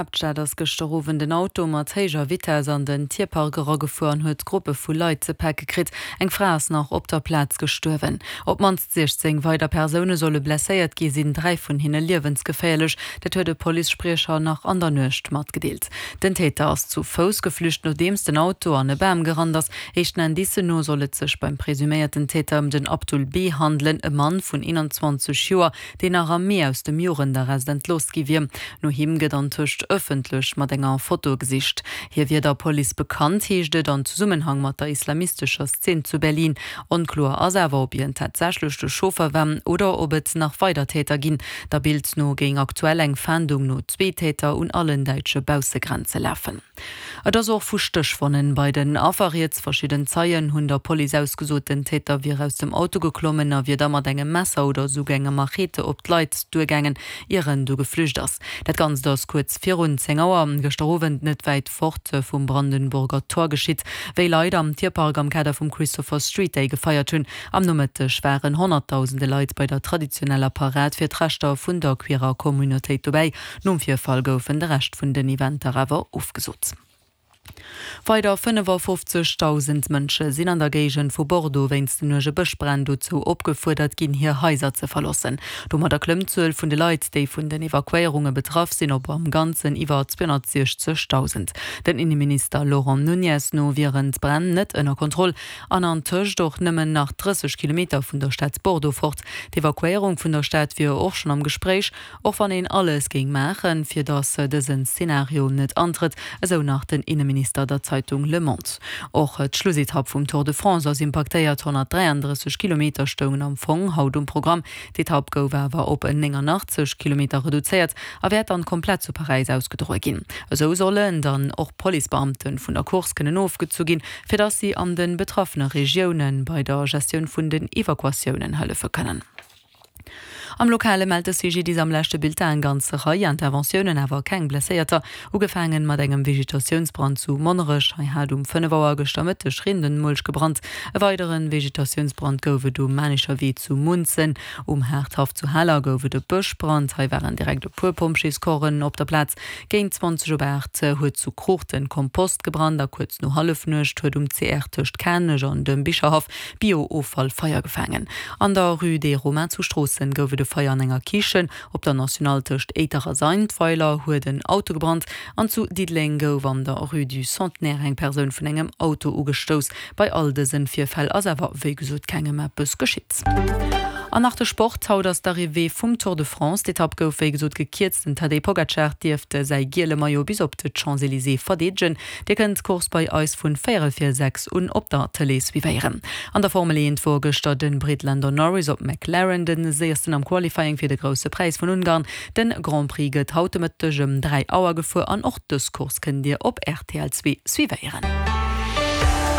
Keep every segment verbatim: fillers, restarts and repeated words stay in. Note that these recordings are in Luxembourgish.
Haaptstad ass gëschter Owend en Auto mat héijer Vitess an den Tierpark eragefuer an huet Gruppe vu Leit ze pake kritt. Eng Fra ass nach op der Plaz gestuerwen. Op d'mannst siechzéng weider Persoune solle blesséiert gi sinn, dräi vun hinne liewensgeféierlech. Dat huet e Policespriecher nach an der Nuecht matgedeelt. Den Täter ass zu Fouss geflücht, nodeems den Auto an e Bam gerannt ass. Éischten Indicen no soll et sech beim presuméierten Täter ëm den Abdul B. handelen, e Mann vun eenanzwanzeg Joer, deen nach am Mee aus dem Jugendarrest entlooss gi wier. No him gëtt antëscht ëffentlech mat enger Foto gesicht. Hie wier der Police bekannt, heescht et an Zesummenhang mat der islamistescher Szene zu Berlin. Onkloer ass awer, ob hien tatsächlech de Chauffer war oder ob et nach weider Täter ginn. Der Bild no géing aktuell eng Fahndung no zwee Täter un allen däitsche Baussegrenze lafen. Et ass och vu Stéchwonnen bei den Affer rieds. Verschidden Zeien hunn der Police ausgesot, den Täter wier aus dem Auto geklommen a wier da mat engem Messer oder esouguer enger Machete op d'Leit duergaangen, ier en du geflücht ass. Dat Ganzt ass kuerz virun zéng Auer gëschter Owend net wäit fort vum Brandenburger Tor geschitt, wéi Leit am Tierpark am Kader vum Christopher Street Day gefeiert hunn. Am Nomëtteg waren Honnertdausende Leit bei der traditioneller Parad fir d'Rechter vun der queerer Communautéit dobäi. Nom Virfall goufen de Rescht vun den Eventer awer ofgesot. Weider fënnefafofzegdausend Mënsche sinn an der Géigend vu Bordeaux wéinst den uerge Bëschbränn dozou opgefuerdert ginn, hir Haiser ze verloossen. Domadder klëmmt d'Zuel vun de Leit, déi vun den Evakuéierunge betraff sinn, op am Ganzen iwwer zweehonnertsiechzegdausend. Den Inneminister Laurent Nunez no wieren d'Bränn net ënner Kontroll an antëscht och nëmmen nach drësseg Kilometer vun der Stad Bordeaux fort. D'Evakuéierung vun der Stad wier och schonn am Gespréich, och wann een alles géing maachen, fir datt dësen Zenario net antrëtt, esou nach den Inneminister der Zeitung Le Monde. Och d'Schlussetapp vum Tour de France ass impaktéiert, honnertdräiandrësseg Kilometer stoungen am Fong haut um Programm. D'Etapp gouf awer op néngannachtzeg Kilometer reduzéiert a wäert dann komplett zu Paräis ausgedroe ginn. Esou sollen dann och Policebeamte vun der Course kënnen ofgezu ginn, fir datt si an de betraffene Regioune bei der Gestioun vun den Evakuatiounen hëllefe kënnen. Am Lokale mellt de C G D I S am leschte Bulletin eng ganz Rei Interventiounen, awer keng Blesséierter. Ugefaangen mat engem Vegetatiounsbrand zu Monnerech, hei hat um fënnef Auer gëschter Mëtteg Rindenmulch gebrannt. E weideren Vegetatiounsbrand gouf et um Manischer Wee zu Munzen. Um Haardhaff zu Haler gouf et e Bëschbrand, hei waren direkt e puer Pompjeescorpsen op der Plaz. Géint zwanzeg op aacht huet zu Kruuchten Kompost gebrannt a kuerz no Hallefnuecht huet um C R tëscht Kanech an dem Bicherhaff Bio-Offall Feier gefaangen. An der Rue des Romains zu Stroossen gouf et e Feier an enger Kichen. Op der Nationale tëscht Éiter a Sandweiler huet en Auto gebrannt an zu Diddeleng gouf an der Rue du Centenaire eng Persoun vun engem Auto ugestouss. Bei all dësen Virfäll ass awer wéi gesot kengem eppes geschitt. An nach de Sport, Haut ass d'Arrivée vum Tour de France. D'Etapp gouf wéi gesot gekierzt. Den Tadej Pogacar dierft säi giele Maillot bis op de Champs-Élysées verdeedegen. Dir kënnt d'Course bei eis vun véierel vir sechs un op der Tëlee suivéieren. An der Formel eent wor gëschter de Brit Lando Norris op McLaren de séiersten am Qualifying fir de Grousse Präis vun Ungarn. De Grand Prix gëtt haut de Mëtteg ëm dräi Auer gefuer an och dës Course kënnt Dir op R T L zwee suivéieren.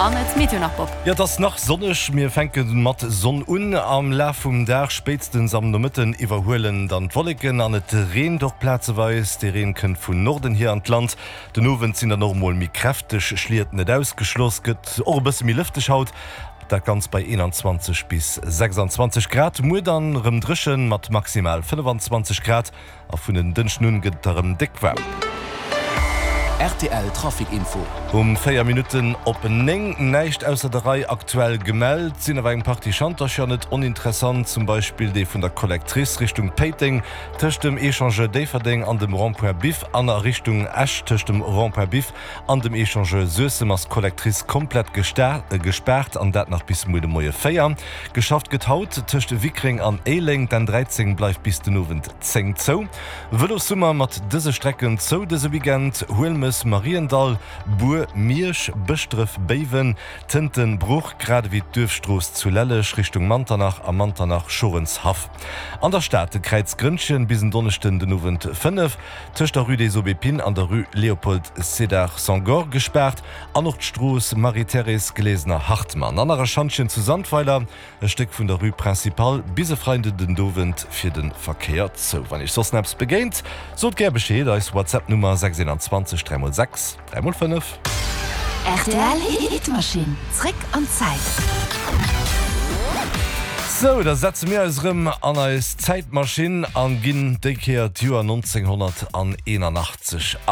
An et Meteo nach, Bob. Jo, et ass nach sonneg. Mir fänke mat Sonn un. Am Laf vum Dag, spéitstens am Nomëtten, iwwerhuelen dann d'Wolleken an et reent och plazeweis. De Reen kënnt vun Norden hier an d'Land. Den Owend sinn dann och mol méi kräfteg Schliet net ausgeschloss. Gëtt och e bësse méi lëfteg haut, dat Ganzt bei eenanzwanzeg bis sechsanzwanzeg Grad. Muer dann erëm dréchen mat maximal fënnefanzwanzeg Grad a vun en Dënschden un gëtt et da rëm déck waarm. R T L Trafic Info. Um véier Minutten op néng, näischt ausser der Rei aktuell gemellt, sinn awer eng Partie Schantercher net oninteressant, zum Beispill dee vun der Collectrice Richtung Péiteng tëscht dem Echangeur Déifferdeng an dem Rond-point Biff an a Richtung Esch tëscht dem Rond-point Biff an dem Echangeur Suessem ass d'Collectrice komplett gespaart an dat nach bis muer de Moie véier. Geschafft gëtt haut tëscht Wickreng an Éileng, d'N dräizéng bleift bis den Owend zéng zou. Vëlossummer mat dëse Strecken zou dëse Weekend, Huelmes, Mariendall, Bur, Miersch, Bëschdref, Béiwen, Tënten, Bruch, grad ewéi d'Duerfstrooss zu Lelleg Richtung Manternach a Manternach, Schorenshaff. An der Stad de Kräiz Grënnchen bis en Donneschden den Owend fënnef, tëscht der Rue des Aubépines an der Rue Léopold Sédar Senghor gespaart an och d'Strooss Marie-Thérèse Glesener-Hartmann. An nach e Schantjen zu Sandweiler, e Stéck vun der Rue Principale bis e Freiden den Owend fir de Verkéier zou. Wann iech soss eppes begéint, sot gär Bescheed, eis WhatsApp-Nummer sechs einundzwanzeg dräi mol sechs dräi mol fënnef. R T L Hitmaschinn, zréck an d'Zäit. Sou, da setze mir eis rëm an eis Zäitmaschinn an ginn déi Kéier d'Joer neunzehnhunnerteenundachtzeg an.